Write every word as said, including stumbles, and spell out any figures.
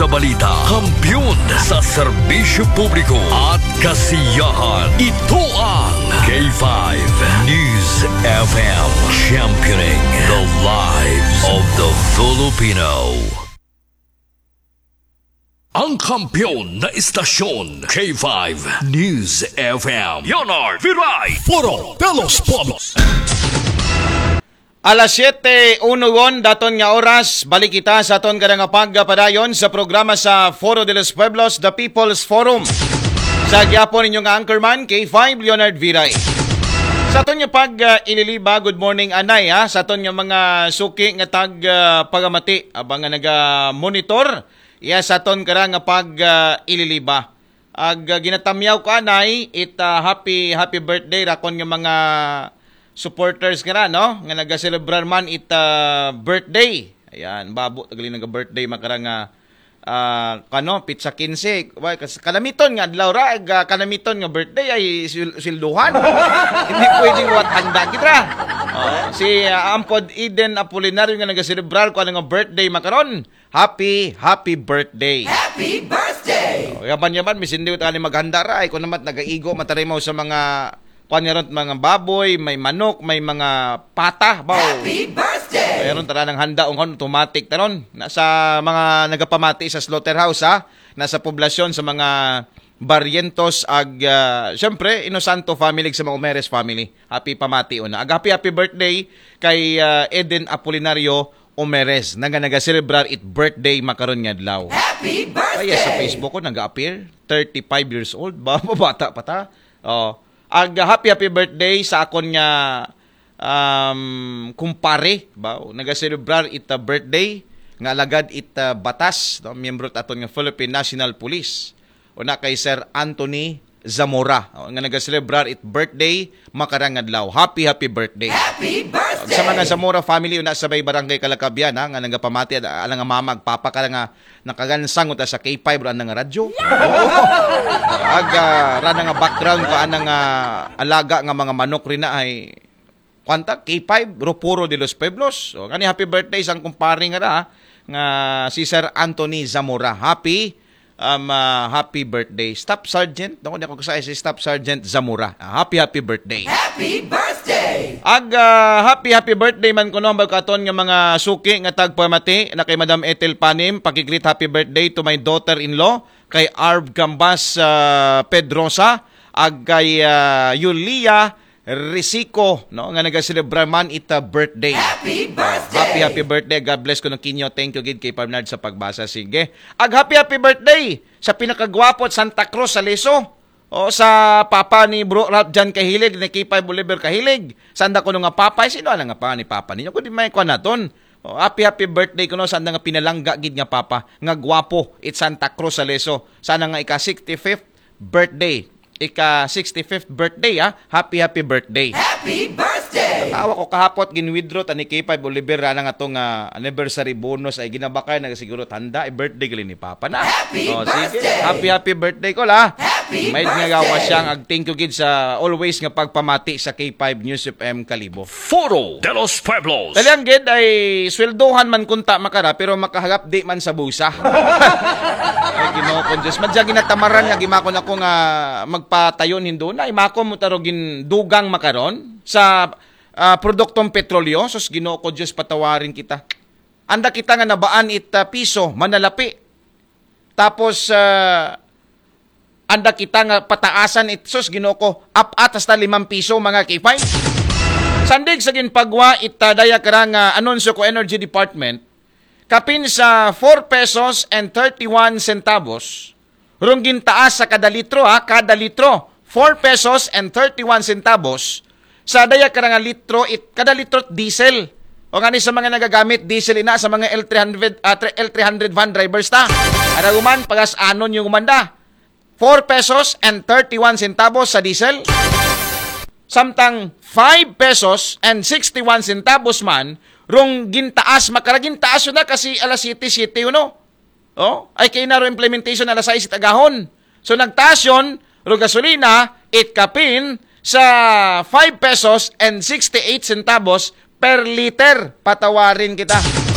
Balita, kampiyon sa serbisyo publiko at kasiyahan. Ito ang K five News F M, championing the lives of the Filipino. Ang kampiyon na istasyon, K five News F M. Leonard Viray. Foro de los Pueblos. Alas siyete uno daton nga oras, balik kita sa aton kada nga pagpadayon sa programa sa Foro de los Pueblos, The People's Forum. Sa gihapon ninyo nga anchorman, K five Leonard Viray. Sa aton nga pag uh, ililiba, good morning anay ha, sa aton nga mga suki nga tag uh, pagamati, abang nga naga-monitor, iya sa aton kara nga pag uh, ililiba. Ag uh, ginatamyaw ko anay it uh, happy happy birthday rakon nga mga supporters nga na, no, nga nagaselebrar man it uh, birthday. Ayan, babo tagali naga birthday makara nga uh, kano, pitsa kinse. Why, kas- kanamiton nga adlaw ra, ag uh, kanamiton nga birthday ay sil- silduhan. Hindi pwedeng wat handa kita. Oh, si uh, Ampod Eden Apolinario nga nagaselebrar ko ano nga birthday makaron. Happy, happy birthday. Happy birthday! Oh, yaman-yaman, misindi ko tani maghanda ra. Ay, kung naman nagaigo, matarimaw sa mga, kuan nga ron, mga baboy, may manok, may mga pata. Baw. Happy birthday! Mayroon tara ng handa, ung automatic taron. Nasa mga nagapamati sa slaughterhouse, ha? Nasa poblasyon, sa mga Barrientos, ag, uh, siyempre, Inosanto family, sa mga Umeres family. Happy pamati, una. Ag happy, happy birthday kay uh, Eden Apolinario Omeres, na nga nagaselebrar it birthday makaron nga adlaw. Happy birthday! Kaya sa Facebook ko, nag-appear, thirty-five years old, ba, bata pa ta. Oh, ag happy, happy birthday sa akon nga um, kumpare, ba, nagaselebrar it uh, birthday, nga alagad it uh, batas, no, miyembro aton nga Philippine National Police. Una kay Sir Anthony Zamora, oh, nga nagaselebrar it birthday, makarang adlaw. Happy, happy birthday. Happy birthday! Sa mga Zamora family, una sa may barangay Kalakabian, ha, nga nagapamati, ala nga mama, ag papa ka nga nakagansang uta sa K five, ro nga radyo. Oo. Ag, uh, rana nga background, ka anang uh, alaga nga mga manok rin na ay, kwanta, K five, Ropuro de los Pueblos. So, kani happy birthday sang kumpare nga ra, nga si Sir Anthony Zamora. Happy um, uh, happy birthday, Staff Sergeant. Naku, di ako kasaya si Staff Sergeant Zamora. Uh, happy, happy birthday. Happy birthday! Ag uh, happy, happy birthday man kuno ang katon nga mga suki nga tagpamati na kay Madam Ethel Panim. Pakigreet happy birthday to my daughter-in-law, kay Arv Gambas uh, Pedrosa, ag kay uh, Yulia Risico, no, nga nagaselebrar man ita birthday. Happy birthday! Happy, happy birthday. God bless ko ng kinyo. Thank you gid kay Parnard sa pagbasa. Sige. Ag happy, happy birthday sa pinakagwapo at Santa Cruz sa Leso. O sa papa ni Bro Ralph John Kahilig, ni K five Oliver Kahilig. Sanda ko nga papa, sino na nga pa ni papa ninyo? Kundi may kwa naton. O, happy, happy birthday ko no, sanda nga pinalangga gid nga papa, nga gwapo, it Santa Cruz sa Leso. Sana nga ika sixty-fifth birthday. Ika sixty-fifth birthday, ha? Happy, happy birthday. Happy birthday! Tawa ko kahapot, gin-withdraw ta ni K five Oliver, rana nga to nga anniversary bonus ay ginabakay na siguro tanda, ay birthday gali ni Papa na. Happy Oh, sige. birthday! Happy, happy birthday ko la. Happy May birthday! nga gawa siyang ag thank you gid sa always nga pagpamati sa K five News F M Kalibo. Foro de los Pueblos. Talyang gid ay sweldohan man kunta makara pero makahagap di man sa busa. Ay, Ginoo ko, Diyos. Madya ginatamaran nga gimakon ako nga magpatayon hindo na. Imako mo taro gindugang makaron sa ah, produktong petrolyo. Sus, Ginoo ko, Diyos, patawarin kita. Anda kita nga nabaan it ah, piso, manalapi. Tapos, ah, anda kita nga pataasan it, sus, Ginoo ko, apat hasta limang piso, mga K five. Sandig sa ginpagwa it ah, daya karang ah, anunsyo ko Energy Department, kapin sa four pesos and thirty-one centavos, rong gintaas sa kada litro, ha, kada litro, four pesos and thirty-one centavos, sa daya karang litro, it, kada litro diesel. O nga ni sa mga nagagamit diesel ina sa mga L three hundred, ah, tre- L three hundred van drivers ta. Araguman, pagas anon yung umanda. Four pesos and thirty-one centavos sa diesel. Samtang five pesos and sixty-one centavos man, rong gintaas, makaragintaas yun na kasi alas siyete, siyete yun, no? Oh, ay kay naro implementation alas sais it agahon. So nagtaas yon, ro gasolina, it kapin sa five pesos and sixty-eight centavos per liter. Patawarin kita.